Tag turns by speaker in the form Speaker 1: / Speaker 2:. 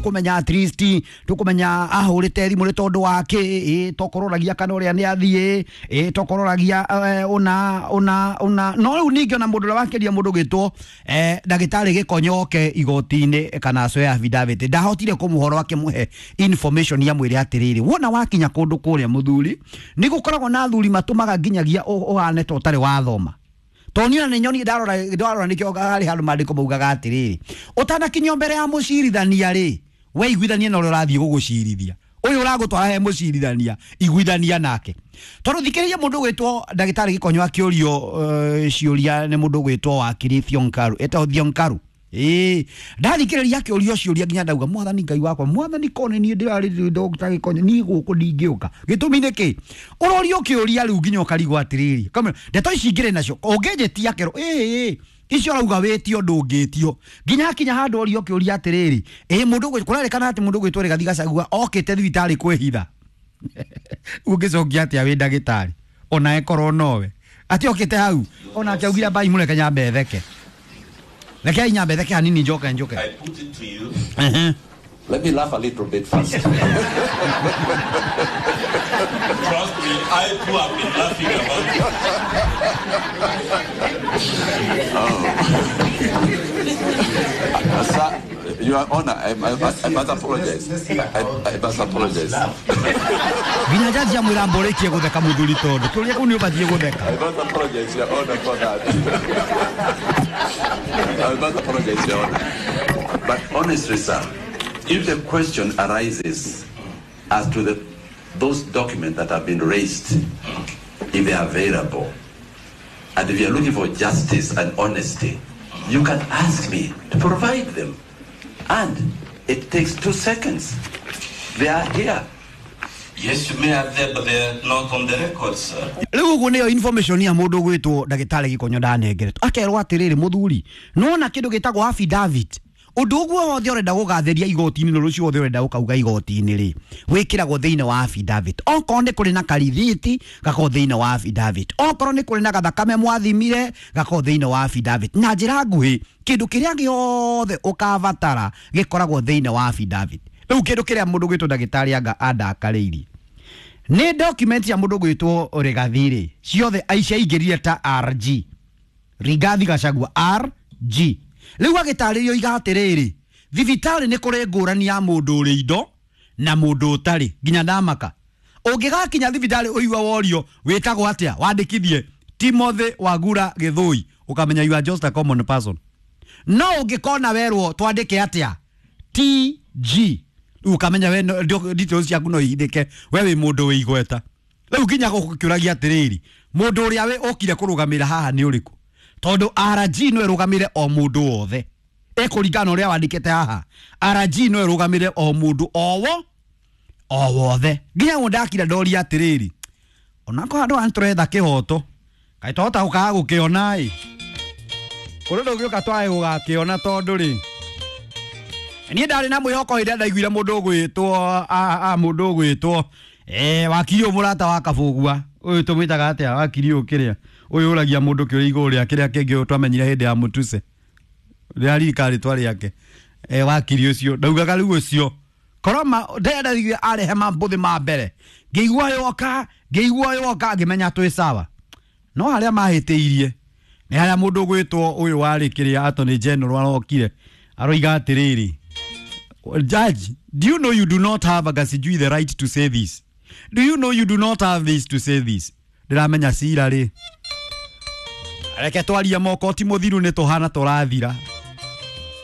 Speaker 1: Kumenya at least tukumenya ahurite thimu ni tondu wa ki tokororagia kana uria ni athie tokororagia una una una no riu ningi ona mundu uria wakeria mundu gitwo ndagitari Gikonyoke igoti-ini kana acoe affidavit ndahotire kumuhoro akimuhe information ya mwire atiriri wona wakinya kundu kuria muthuri ni gukoragwo na athuri matumaga nginyagia uhane ta utari wathoma toni ona nyoni ndarora ndarora nikio hari handu mandiko maugaga atiriri utanakinyio mbere ya mucirithania ri we iguithanie na uria urathie gugucirithia uyu uragutwara he mucirithania iguithania nake tondu thikiriria mundu gwitwo ndagitari Gikonyo akiurio ciuria ni mundu gwitwo wakiri Thionkaru etagwo Thionkaru ndathikiriria akiurio ciuria nginya ndauga mwathani Ngai wakwa mwathani kone nie ndirari Dr. Gikonyo ni guku ndingiuka gitumi ni ki urorio kiuria riu nginya ukarigwo atiriri kamera ndeto ici ngire nacio unginjitia kero icio rauga witio ndungitio nginya akinya handu orio kiuria atiriri mundu kurarikana ati mundu gwitwo Rigathi Gachagua okite thibitari kwihitha ungicokia atia wi ndagitari ona ekorwo nowe ati okite hau ona akiaugire mbai mureke nyambe theke reke nyambe theke hanini njoke njoke.
Speaker 2: I put it to you.
Speaker 3: Let me laugh a little bit first.
Speaker 2: Trust me, I too have been laughing about it.
Speaker 3: Oh. Sir, Your Honor, I must apologize. I must apologize.
Speaker 1: Nginya jaji amwira mborikie gutheka muthuri tondu kiuria kuu ni ubatie gutheka.
Speaker 3: I must apologize, Your Honor, for that. I must apologize, Your Honor. But honestly, sir, if the question arises as to those documents that have been raised, if they are available, and if you are looking for justice and honesty, you can ask me to provide them. And it takes 2 seconds. They are here.
Speaker 2: Yes, you may have them, but they are not on the record, sir.
Speaker 1: Riu uguo niyo information ya mundu gwitwo ndagitari Gikonyo ndanengeretwo akerwo atiriri muthuri nona kindu gitagwo affidavit undu uguo wothe urenda gugatheria igoti-inĩ na rucio wothe urenda gukauga igoti-inĩ ri wikiragwo thiini wa affidavit okorwo ni kuri na karithiti gakorwo thiini wa affidavit okorwo ni kuri na gathakame mwathimire gakorwo thiini wa affidavit na njira nguhi kindu kiria giothe ukabatara gikoragwo thiini wa affidavit. Riu kindu kiria mundu gwitwo ndagitari anga andakariirie ni document ya mundu gwitwo Rigathi ri ciothe aicia ingirire ta RG Rigathi Gachagua RG. Riu agitaririo iga atiriri thibitari ni kuri ngurani ya mundu uri indo na mundu utari nginya ndamaka ungigakinya thibitari uigua worio witagwo atia wandikithie Timothy Wagura Githui ukamenya you are just a common person. No ungikona werwo twandike atia TG ukamenya we details ciaku no ihithike we wi mundu wi igweta. Riu nginya gukiuragia atiriri mundu uria we ukire kurugamira haha ni uriku tondu RG no irugamire o mundu wothe ekuringana uria wandikite haha RG no irugamire o mundu owo o wothe nginya ndakira ndoria atiriri onako handu antũretha kihoto kai twahota gukaga gukiona i kuri ndungiuka twae gugakiona tondu ri niĩ ndarĩ na mwĩhoko hĩndĩ ĩrĩa ndaiguire mũndũ ũgwĩtwo mũndũ ũgwĩtwo wakiri ũyũ mũrata wa Kabũgua ũyũ tũmwĩtaga atĩa wakiri ũyũ kĩrĩa ũyũ ũragia mũndũ kĩũria igũrũ rĩa kĩrĩa kĩngĩ twamenyire hĩndĩ ya Mutuse rĩraririkana rĩtwa rĩake wakiri ũcio ndaugaga rĩu ũcio koroma ndĩrenda arehe mambũthĩ ma mbere ngĩigua yoka ngĩigua yoka ngĩmenya twĩ sawa no harĩa mahĩtĩirie nĩ harĩa mũndũ ũgwĩtwo ũyũ warĩ kĩrĩa Attorney General arokire aroiga atĩrĩrĩ Judge, do you know you do not have a sijui the right to say this? Do you know you do not have this to say this? Ndiramenya cira ri. Reke twarie moko ti muthiru ni tuhana turathira.